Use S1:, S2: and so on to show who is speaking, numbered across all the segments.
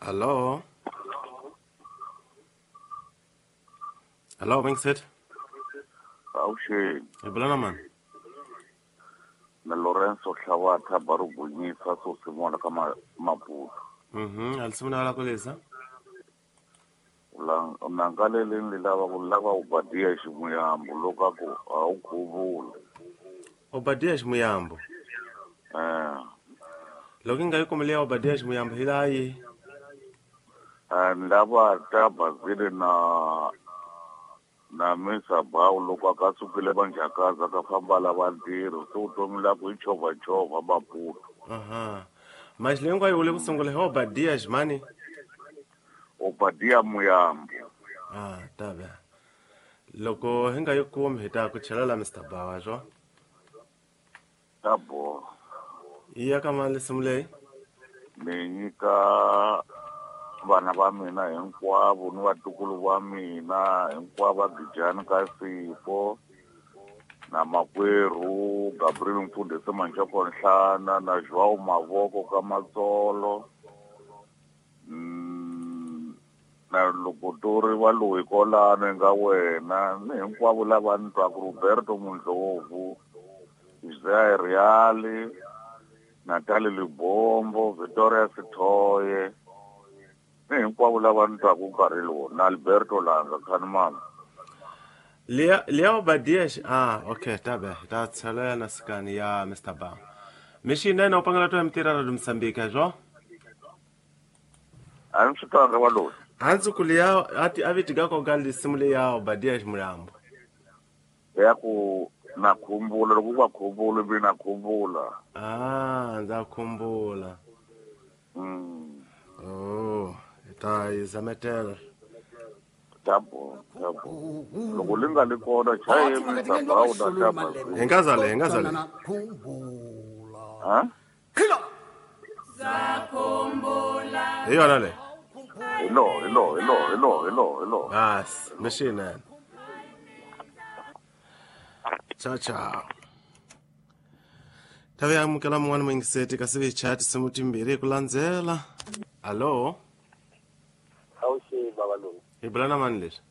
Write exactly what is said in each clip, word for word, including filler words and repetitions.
S1: Alô? Alô, Wingset?
S2: Avuxeni.
S1: Hi bula na mani?
S2: Na Lorenzo Hlawatha Barugunyisa Sosimona ka Maputo.
S1: Mhm, alisimuna la koleza.
S2: La nangaleleni lava ku lava Obadia Ximuyambo loko a ku a wu khuvula.
S1: Obadia Ximuyambo.
S2: Eh.
S1: Loko yi nga yi kumile ya Obadia Ximuyambo hi laha yi.
S2: Eh ni lava ta Bazile na na Misa Bawu loko a ka sukile vanjhakaza ka famba lava ntirho se vutomi la ku i chovhachovha Maputo.
S1: Aha. Manje leyi hinkwayo u le ku sungula hi Obadia Ximani?
S2: Obadia Muyambo.
S1: Ah, ta ve. Loko hi nga yi kumi hi ta ku chela la Mister Bawa swo.
S2: Ta boha.
S1: Yi ya ka mali nsimu leyi?
S2: Ni nyika vana va mina hinkwavo ni vatukulu va mina hinkwavo va Gijani ka Sipho na makwerhu Gabriel Mfundhisi Manjoko Nhlana na Joao Mavoko ka Matsolo mm, na loko tori va loyi kolano nga wena ni hinkwavo lava ni twaku Roberto Mundlovu, Isaiah Reale, Natalie Libombo, Victoria Sithoye ni hinkwavo lava ni twaku nkarhi lowu na Alberto Langa Khanimama.
S1: Liya liya Obadia Xi ah okay ta ve hi ta chela na sikani ya Mister Bawa. Mixinene u pangela to ya mitirha ra Mozambique swo?
S2: A ni swi twanga va loyi.
S1: Hansi ku liya a ti a viti ka koka lisimu leya Obadia Ximuyambo.
S2: Ya ku na khumbula loko va khumbula mi na khumbula.
S1: Ah, ndza khumbula.
S2: Mm.
S1: Oh, hi ta yi zametela.
S2: Ta boha, ta boha. Loko li nga li kona chaye Mister Bawu na ta Bazile.
S1: Hi nga za le, hi nga za le.
S2: Ha?
S1: Hi yona leyi.
S2: Hi lo, hi lo, hi lo, hi lo, hi lo, hi lo.
S1: Bas, mixinene. Ciao ciao. Tave amukela mun'wana muyingiseti kasi vi chat tinsimu timbirhi hi ku landzela. Allo?
S3: Avuxeni bava loyi.
S1: Hi bula na mani leswi?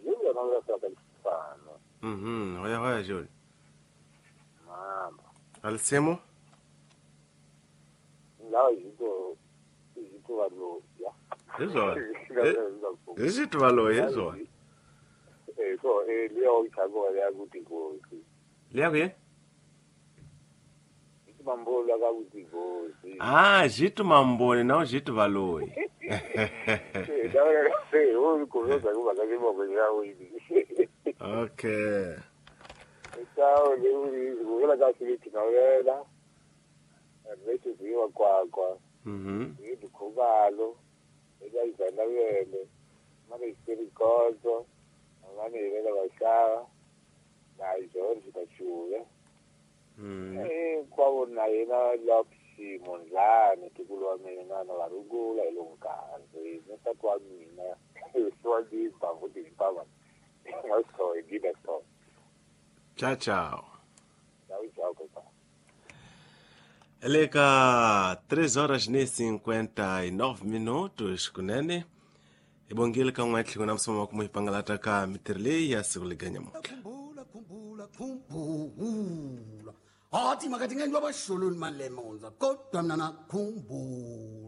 S3: Junior na vula ka Xifano.
S1: Mhm, hoya hoya Joli.
S3: Mama.
S1: Alisimu?
S3: Lava hi to hi to va loyi.
S1: Hi swona. Hi xi va loyi hi swona.
S3: Eh so eh liya u chako ya ku tingozi.
S1: Liya ku yini?
S3: Hi mambola ka ku tingozi.
S1: Ah, Jito Mamboni na Jito Valoyi.
S3: Eh da eh u ku zo ku va ka moko ya u yi.
S1: Okay.
S3: Ciao, le u la ka swi na wena. Re tsi wa kwa kwa.
S1: Mhm.
S3: Hi dikhubalo eka izana wele. Mane isirikonzo. Mane ile va xava. Na George Kachuve.
S1: Mm.
S3: Eh kwa na yena Lopsi Mondlane tikulu wa mina na varungula hi lo nkarhi. Ni tata wa mina swa dimba futhi impama. Ngaso ngida so.
S1: Ciao ciao.
S3: Ciao ciao kopa.
S1: Eleka três horas e cinquenta e nove minutos kunene. Hi bongile ka n'we tlhelo na msomo wa ku mu hipangalata ka mitirho leyi ya siku leganyamuntlha.
S4: Khumbula khumbula khumbula. Hathi makathi ngendwa bashuluni malemonza kodwa mina nakhumbula.